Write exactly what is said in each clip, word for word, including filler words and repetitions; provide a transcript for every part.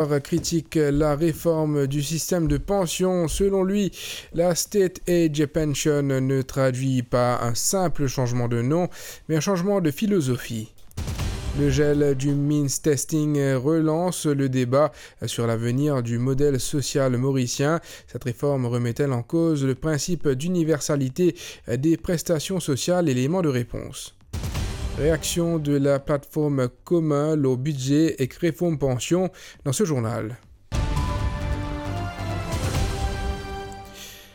Critique la réforme du système de pension. Selon lui, la State Age Pension ne traduit pas un simple changement de nom, mais un changement de philosophie. Le gel du means testing relance le débat sur l'avenir du modèle social mauricien. Cette réforme remet-elle en cause le principe d'universalité des prestations sociales ? Élément de réponse. Réaction de la plateforme Commun lor bidze ek reform pansion dan se journal.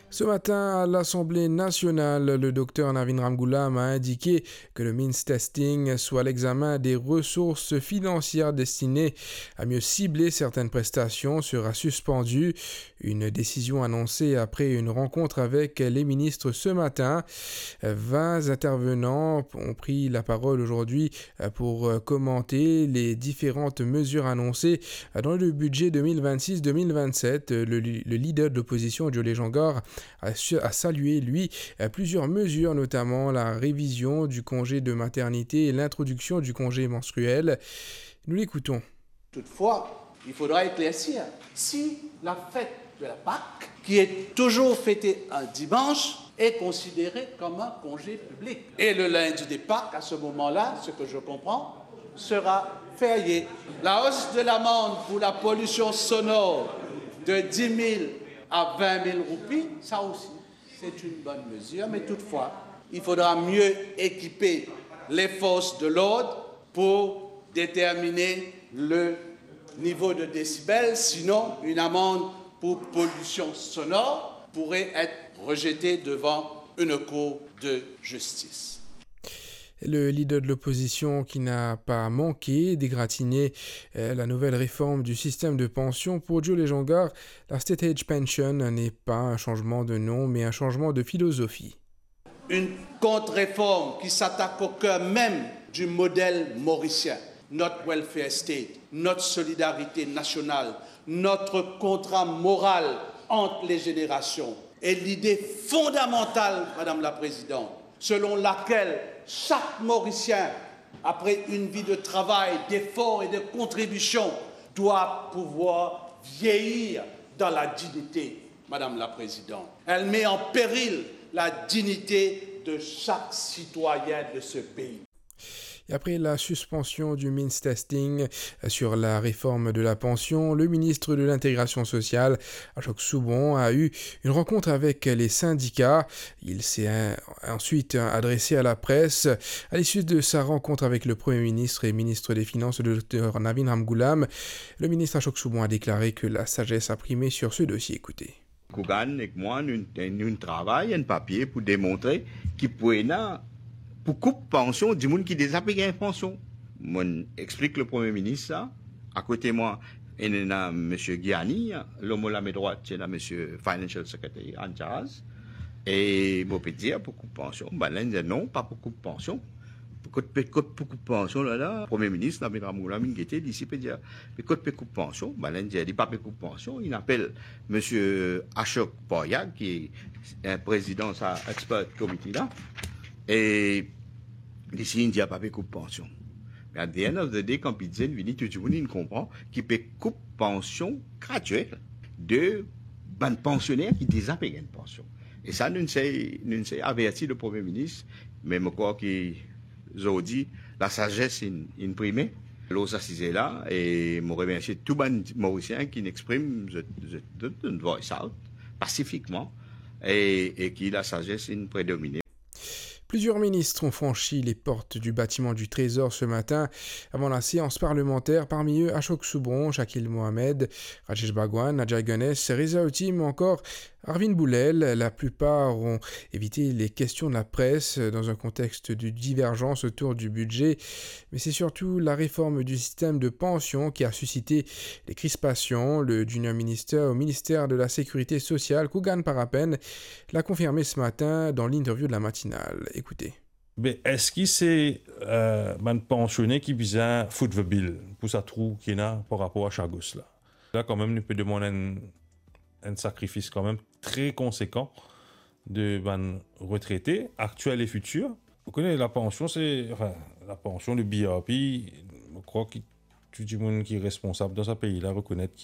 Ce matin, à l'Assemblée nationale, le docteur Navin Ramgoolam a indiqué que le means testing, soit l'examen des ressources financières destinées à mieux cibler certaines prestations, sera suspendu. Une décision annoncée après une rencontre avec les ministres ce matin. Vingt intervenants ont pris la parole aujourd'hui pour commenter les différentes mesures annoncées dans le budget deux mille vingt-six deux mille vingt-sept. Le, le leader de l'opposition, Joe Lejongar, a, su- a salué, lui, plusieurs mesures, notamment la révision du congé de maternité et l'introduction du congé menstruel. Nous l'écoutons. Toutefois, il faudra éclaircir si la fête de la Pâque, qui est toujours fêtée un dimanche, est considérée comme un congé public. Et le lundi de Pâques, à ce moment-là, ce que je comprends, sera férié. La hausse de l'amende pour la pollution sonore de dix mille à vingt mille roupies, ça aussi, c'est une bonne mesure, mais toutefois, il faudra mieux équiper les forces de l'ordre pour déterminer le niveau de décibels, sinon une amende pour pollution sonore pourrait être rejetée devant une cour de justice. Le leader de l'opposition qui n'a pas manqué d'égratigner, euh, la nouvelle réforme du système de pension. Pour Joe Lejongar, la State Age Pension n'est pas un changement de nom, mais un changement de philosophie. Une contre-réforme qui s'attaque au cœur même du modèle mauricien, notre welfare state, notre solidarité nationale, notre contrat moral entre les générations et l'idée fondamentale, Madame la Présidente, selon laquelle chaque Mauricien, après une vie de travail, d'efforts et de contributions, doit pouvoir vieillir dans la dignité, Madame la Présidente. Elle met en péril la dignité de chaque citoyen de ce pays. Et après la suspension du means testing sur la réforme de la pension, le ministre de l'Intégration sociale, Ashok Soubhon, a eu une rencontre avec les syndicats. Il s'est, euh, ensuite, euh, adressé à la presse. À l'issue de sa rencontre avec le Premier ministre et ministre des Finances, le docteur Navin Ramgoolam, le ministre Ashok Soubhon a déclaré que la sagesse a primé sur ce dossier. Écoutez. Kougan ek mwa, nou, nou travay enn papie pou demontre ki pou ena, pou koup pansion dimoun ki deza pe gagn pansion. Mo explik le Premie Minis sa. Akote mwa, ena Misie Gianni, lor mo lame drwat, ena Misie Financial Secretary in charge. E mo pe dir pou koup pansion, bann la inn dir non, pa pou koup pansion. Kot pe, kot pou koup pansion la, la, Premie Minis, Navin Ramgoolam inn gete, li si pe dir, me kot pe koup pansion, bann la inn dir, li pa pe koup pansion, inn apel Misie Ashok Poriag, ki prezidan sa expert committee la, e li si inn dir pa pe koup pansion. Me at the end of the day, kan bidze inn vini, tou dimoun inn konpran ki pe koup pansion gratuel de bann pansioner ki deza pe gagn pansion. E sa, nou inn sey, nou inn sey averti le Premie Minis, me mo krwar ki zordi, lasazes inn, inn prime lor sa size la, e mo remersie tou bann Morisien ki'nn exprim zot, zot, zot, zot voice out pasifikman, e, e ki lasazes inn predomine. Plusieurs ministres ont franchi les portes du bâtiment du Trésor ce matin avant la séance parlementaire, parmi eux Ashok Soubhon, Shakil Mohamed, Rajesh Bhagwan, Ajay Ganesh, Reza Otey ou encore Arvind Boolel. La plupart ont évité les questions de la presse dans un contexte de divergence autour du budget, mais c'est surtout la réforme du système de pension qui a suscité les crispations. Le junior minister au ministère de la Sécurité sociale, Kougan Parapen, l'a confirmé ce matin dans l'interview de la matinale. Écoutez. Be, eski se, euh, bann pansioner ki bizin foot the bill pou sa trou ki ena par rapor a Chagos la? La, kanmem, nou pe demann enn, enn sakrifis kanmem tre konsekan de bann retrete, aktiel e fitir. Ou kone, lapansion, se, anfin, lapansion, le B R P, mo krwar ki tou dimoun ki responsab dan sa pei la rekonet